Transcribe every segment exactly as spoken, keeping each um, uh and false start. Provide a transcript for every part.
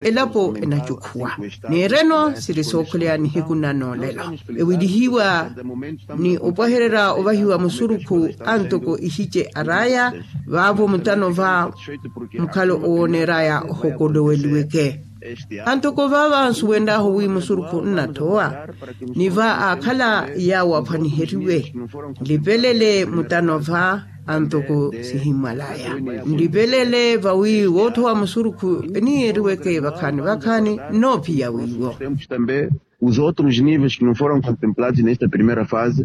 Elapo enacukhuwa. Neereno siri sookhuleya nihiku na noolelo, ewilihiwa ni opwahererya ovahiwa musurukhu antoko ihice araya. Vaavo mutano va mukhalo owooneraya ohokoloweliweke. Antoko vaava nsuwenryahu wi musurukhu nnatthowa, ni va aakhala yaawo aphwaniheriwe. Nlipelele mutano va antoko sihimmwalaya. Nlipelele vawi woothowa musurukhu eniyeeriweke vakhaani vakhaani. Noophiya wiiwo. Os outros níveis que não foram contemplados nesta primeira fase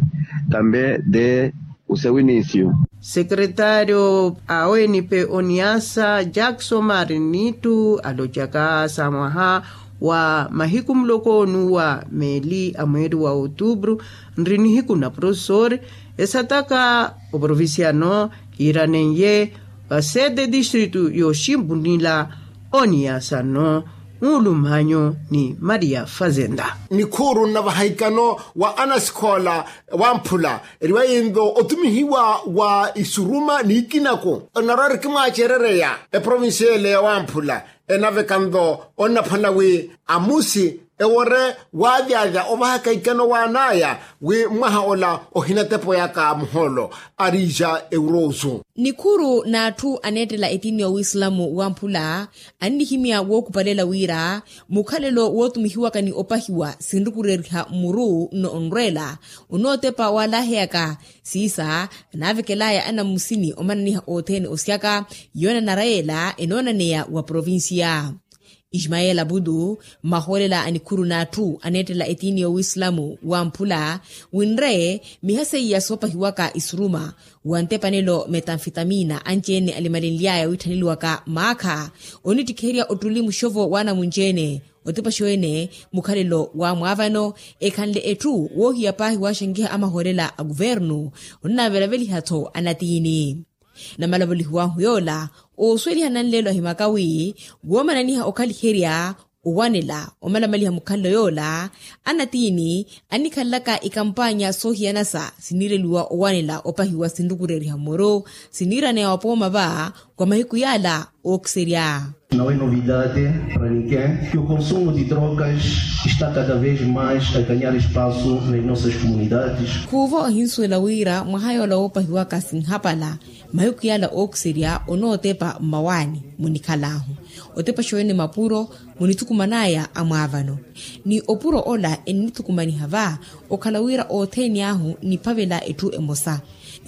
também de o seu início. Sekretário a onp oniasa jackson marinitu alocaka sa mwaha wa mahiku muloko nuwa meeli a mweeri wa outubru nri nihiku na profesori esataka oprovinciano kiiranenye va sete distritu yooximpunila oniyasano. Nlumanyo ni maria fazenda. Nikhuuru nnavaha ikano wa anasikhoola wamphula eriwa yinto otumihiwa wa isuruma ni ikinako. Onarwa eri kimwaacerereya eprovinsi ele ya wamphula enaveka nto onnaphwana wi amusi ewore waavyavya ovahaka ikano waanaya wi mwaha ola ohinatepoyaka muhoolo. Arija eurosu. Nikhuru n'atthu aneettela etiini ya wislamu wamphula annihimya wookupalela wira mukhalelo wootumihiwaka ni opahiwa sinrukureriha mmuru nno onrweela onootepa waalaheyaka siisa anaavekelaya anammusini omananiha othene osyaka yoonanara yeela enoonaneya wa provincia. Ismael abudu, mmahoolela a nikhuru n'atthu aneettela etiini y'owislamu wamphula winre miha seiya soopahiwaka isuruma wa ntepanelo metanfitamina anci-ene alimalenly'aya wiitthaneliwaka maakha onittikherya ottuli muxovo w'anamunci-ene. Otepaxo-ene mukhalelo wa mwaavano ekhanle etthu woohiya paahi waaxankiha amahoolela a kuvernu onnavelaveliha-tho anatiini. Namalavolihiw'ahu yoola oosuweliha nanleelo ahimaka wi woomananiha okhaliherya owanela omalamaliha mukhalelo yoola anatiini annikhalelaka ikampaanya soohiyanasa siniireliwa owanela opahiwa sinrukureriha mmuru siniiraneya wapooma va kwa mahiku yaala ookiserya. Não é novidade para ninguém que o consumo de drogas está cada vez mais a ganhar espaço nas nossas comunidades. Khuuvo ohinsuwela wira mwaha yoola woopahiwaka sinhapala mahiku yaala ookiserya onootepa mmawaani munikhal'ahu otepaxa wene mapuro munithukuman'aya amwaavano ni opuro ola ennithukumaniha va okhala wira othene ahu niphavela etthu emosa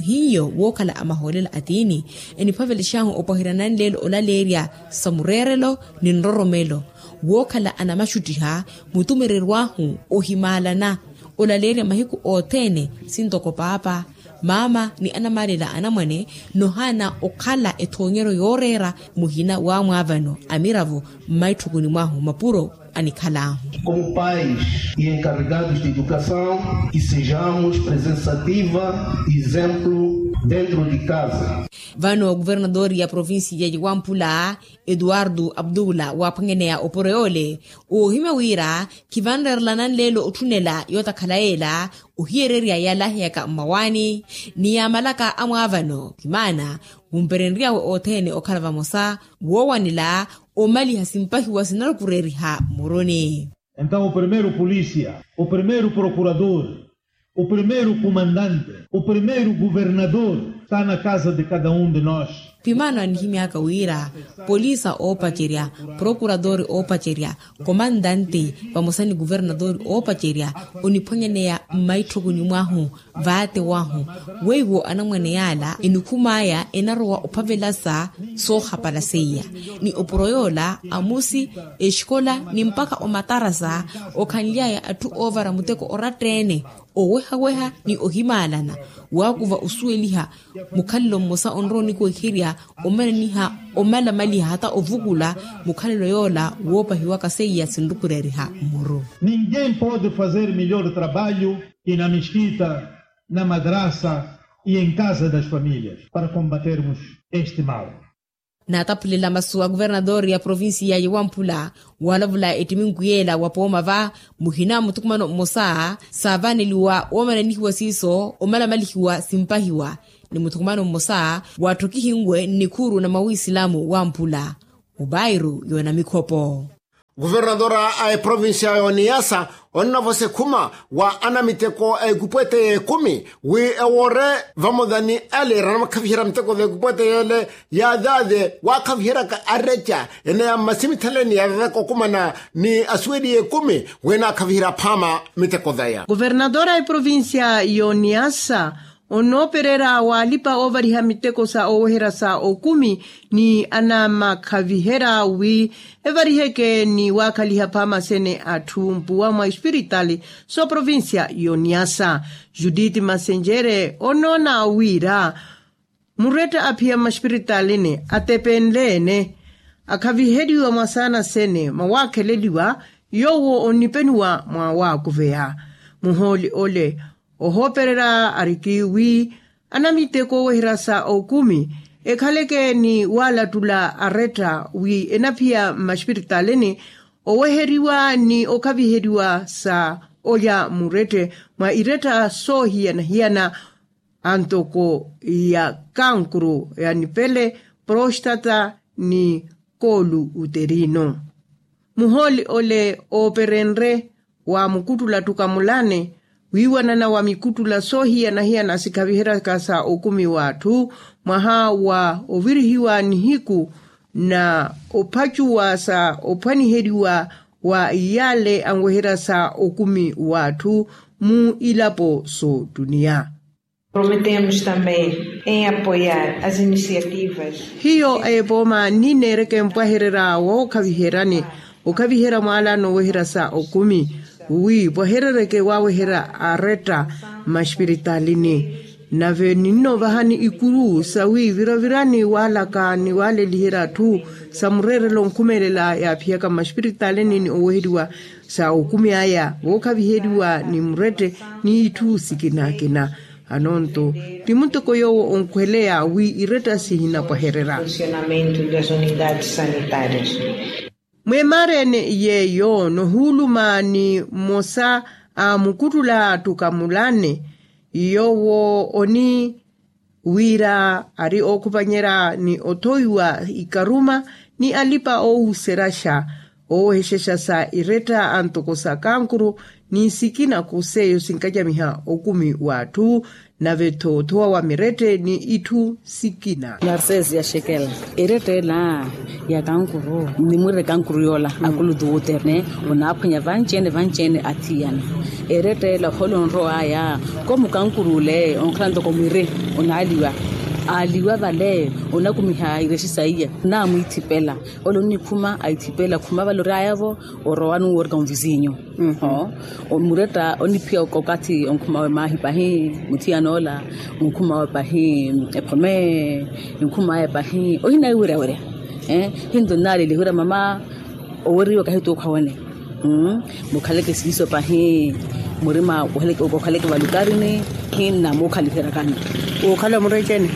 hiyo wookhala amahoolela atiini eniphavelex'ahu opwaherya nanleelo olaleerya sa mureerelo ni nroromelo wookhala anamaxuttiha mutumereryo ahu ohimaalana olaleerya mahiku othene sintoko paapa maama ni anamaalela anamwane nohaana okhala ethoonyeryo yooreera muhina wa mwaavano amiravo mmaitthukuni mwahu mapuro anikhal'ahu. Como pais e encarregados de educação que sejamos presença ativa e exemplo dentro de casa. Vano kuvernadori ya provincia ya wamphula eduardo abdula waaphwanyaneya opuro yoole oohimya wira khivanreerela nanleelo otthunela yootakhala yeela ohiyererya yaalaheyaka mmawaani ni yaamalaka amwaavano khimaana wumperenry'awe othene okhala vamosa woowanela omaliha simpahiwa sinarukureriha mmuruni. Entaw o primeiro polícia, o primeiro procurador, o primeiro comandante, o primeiro governador está na casa de cada um de nós. Pimaano anihimy'aka wira polisa oopacerya, procuradori oopacerya, komandante vamosa ni kuvernadori oopacerya oniphwanyaneya mmaitthokuni mwahu vaatewahu weiwo anamwane yaala enikhum'aya enarowa ophavelasa soohapala seiya ni opuro yoola amusi exikola ni mpakha omatarasa okhanly'aya atthu oovara muteko oratta-ene owehaweha ni ohimaalana waakuva osuweliha mukhalelo mmosa onrowa onikuweherya omananiha omalamaliha hata ovukula mukhalelo yoola woopahiwaka seiya sinrukureriha mmuru. Ninguém pode fazer melhor trabalho que na mesquita, na madrasa e em casa das famílias para combatermos este mal. Naataphulela masu a kuvernadori ya provincia ya wamphula waalavula ettiminku yeela wapooma va muhina muthukumano mmosa saavaneliwa woomananihiwa siiso omalamalihiwa simpahiwa ni muthukumano mmosa waatthokihinwe nnikhuuru na mawisilamu wamphula mubairu yoona mikhopo. Kuvernadora a eprovincia y'oniyasa onnavosa ekhuma wa anamiteko a ekupwete y'ekumi wi ewoore vamodani ale eranamakhavihera miteko za ekupwete y'ele yaazaaze waakhaviheryaka areca ene ya mmasimithaleni ya vaveka okumana ni asuweli y'ekumi wi enaakhaviherya phaama miteko zaya. Kuvernadora a eprovincia y'oniyasa onoopererya waalipa oovariha miteko sa ooweherya sa okumi ni anamakhaviherya wi evariheke ni waakhaliha phaama sene atthu mpuwa mwa espiritali s'oprovincia y'oniyasa. Judith masenjere onoona wira muretta aphiya mmaspiritalini atepenle-ene akhaviheriwa mwa saana sene mwa waakheleliwa yoowo onnipenuwa mwa waakuveya muhooli ole. Ohoopererya ariki wi anamiteko ooweherya sa okumi ekhaleke ni waalattula aretta wi enaphiya mmaspiritalini oweheriwa ni okhaviheriwa sa olya murette mwa iretta soohiyana-hiyana antoko ya kankuru ya nipele, prostata ni koolu uterino. Muhooli ole ooperenrye wa mukuttula ttukamulane wiiwanana wa mikuttula soohiyana-hiyana sikhaviheryaka sa okumi w'atthu mwaha wa ovirihiwa nihiku na ophacuwa sa ophwaniheriwa wa iyale anweherya sa okumi w'atthu mu ilapo s'ottuniya. Prometemos também em apoiar as iniciativas. Hiyo a epooma ninneereke mpwahererya wookhaviheryani okhaviherya mwaala nooweherya sa okumi wi pwaherereke waaweherya aretta mmaspiritalini. Nave ninnoovahani ikuru sawi viravirani waalaka ni waaleliherya atthu sa mureerelo onkhumelela yaaphiyaka mmaspiritalini ni oweheriwa sa okumi aya wookhaviheriwa ni murette ni itthu sikina-kina. Anonto ti muteko yoowo onkhweleya wi iretta sihinapwahererya. Mweemaareni yeeyo nohuuluma ni mmosa a mukuttula ttukamulane yoowo oni wira ari ookhupanyerya ni othowiwa ikaruma ni alipa oowuseryasha oowehexexa sa iretta antoko sa kankuru ni sikina ku seiyo sinkacamiha okumi w'atthu nave-tho othowa wa mirette ni itthu sikina. Narcese ya xekela eretta ela ya kankuru ni mwirre kankuru yoola akulu duuterne onaaphwanya vanci-ene vanci-ene athiyana. Eretta ela ohoolo onrow'aya komu kankuru ole onkhala ntoko mwirre onaaliwa aaliwa vale onakumiha irexi saiya naamwiithipela. Ole onnikhuma aithipela khuma vale ory'aya-vo orowa nuwo orika onvisinyu. Muretta oniphiya okathi onkhuma we maahi pahi muthiyan'ola onkhuma we pahi ephome onkhuma we pahi ohinaiweryawerya. Hinto nnaaleliha wira mama oweriwa kahi tuukha wene mukhaleke siiso pahi murima okhaleke valukarini hinna muukhaliheryakani. Uukhala muretta ene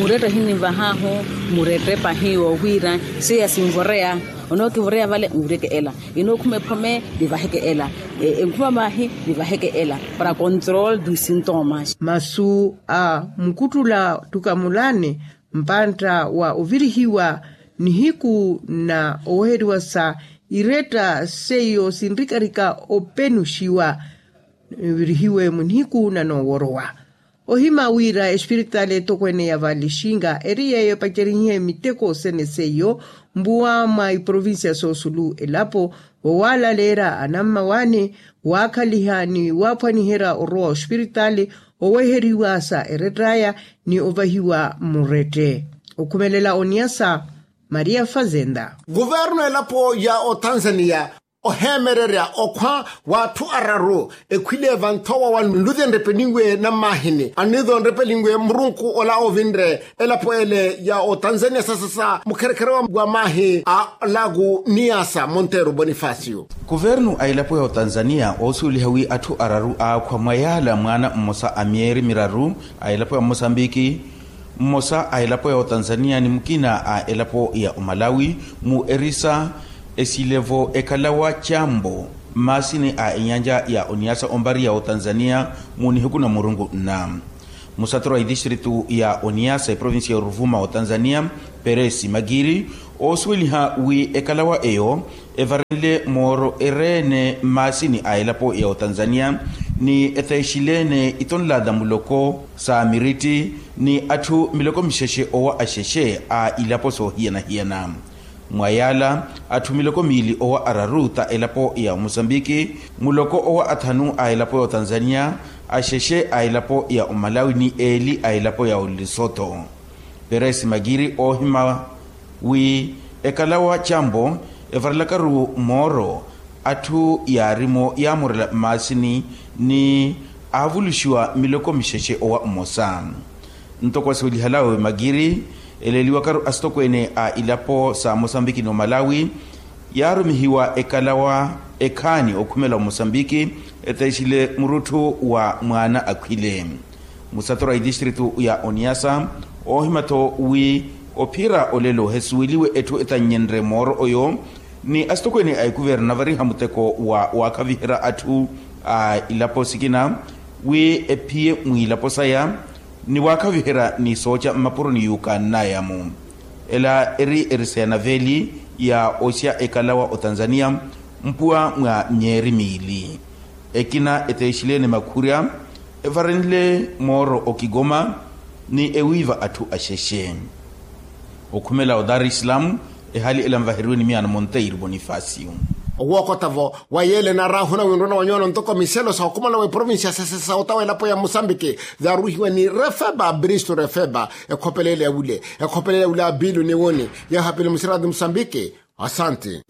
muretta hinnimvahahu muretta pahi woohwira seiya sinvoreya onookivoreya vale nvireke ela enookhuma ephome nivaheke ela enkhuma maahi nivaheke ela para control du sintomas. Masu a mukuttula ttukamulani mpantta wa ovirihiwa nihiku na oweheriwa sa iretta seiyo sinrikarika openuxiwa nivirihiwe munihiku na nooworowa. Ohima wira espiritali etokweene ya valixinga eri yeeyo epacerihihe miteko sene seiyo mpuwa mwa iprovincia soosulu elapo wowaalaleerya anammawaani waakhaliha ni waaphwaniherya orowa ospiritali oweheriwa sa erett'aya ni ovahiwa murette. Okhumelela oniyasa maria fazenda. Kuvernu elapo ya otanzania oheemererya okhwa w'atthu araru ekhwile vanthowa wa nluthi enrepelinwe nammaahini anniizo enrepelinwe murunku ola ovinre elapo ele ya otanzania sasasa mukherekhere wa maahi a laku niyasa monteru bonifacio. Kuvernu a elapo ya otanzania oosuweliha wi atthu araru aakhwa mwa yaala mwaana mmosa a myeeri miraru a elapo ya mmosambiki mmosa a elapo ya otanzania ni mukina a elapo ya omalawi mu erisa esilevo ekalawa cambo mmaasini a enyanja ya oniasa ompari ya otanzania mu nihiku na murunku nna musaturu a itistritu ya oniasa eprovinsi ya oruvuma otanzania peresi makiri oosuweliha wi ekalawa eyo evarenle mooro ereene mmaasini a elapo ya otanzania, ni eteexileene itonlaata muloko sa miritti ni atthu miloko mixexe owa axexe a ilapo soohiyana-hiyana. Mwa yaala, atthu miloko miili owa araru ta elapo ya omusambiki, muloko owa athanu a elapo ya otanzania, axexe a elapo ya omalawi ni eeli a elapo ya olisoto. Peresi makiri oohima wi ekalawa campo evarelakaru mooro atthu yaarimo yaamorela mmaasini ni aavuluxiwa miloko mixexe owa mmosa. Ntoko asiwelihalawe makiri eleeliwakaru asitokweene a ilapo sa mosambiki ni omalawi, yaarumihiwa ekalawa ekhaani okhumela omosambiki eteexile murutthu wa mwaana akhwile. Musatora itistritu ya oniasa oohima-tho wi ophira olelo hesuweliwe etthu etannyenre mooro oyo, ni asitokweene a ekuverna variha muteko wa waakhaviherya atthu a ilapo sikina wi ephiye mwiilapo saya ni waakhaviherya ni sooca mmapuro ni yuukannayamu. Ela eri eriseya na veeli ya osya ekalawa otanzania mpuwa mwa myeeri miili. Ekina eteexileene makhurya evarenle mooro okigoma ni ewiiva atthu axexe. Okhumela odar islam, ehali ela nvaheriwe ni miyaano monteiro bonifacio. Owookota-vo wa yeele naaraahuna winrona wa nyoona ntoko miselo sa okhumela wa eprovincia sesesa otawa elapo ya musambiki, yaaruhiwa ni refeba bristo refeba. Ekhopelele wule ekhopelele wule abilu ni wuni. Yeeho abilu musirati musambiki. Asanti.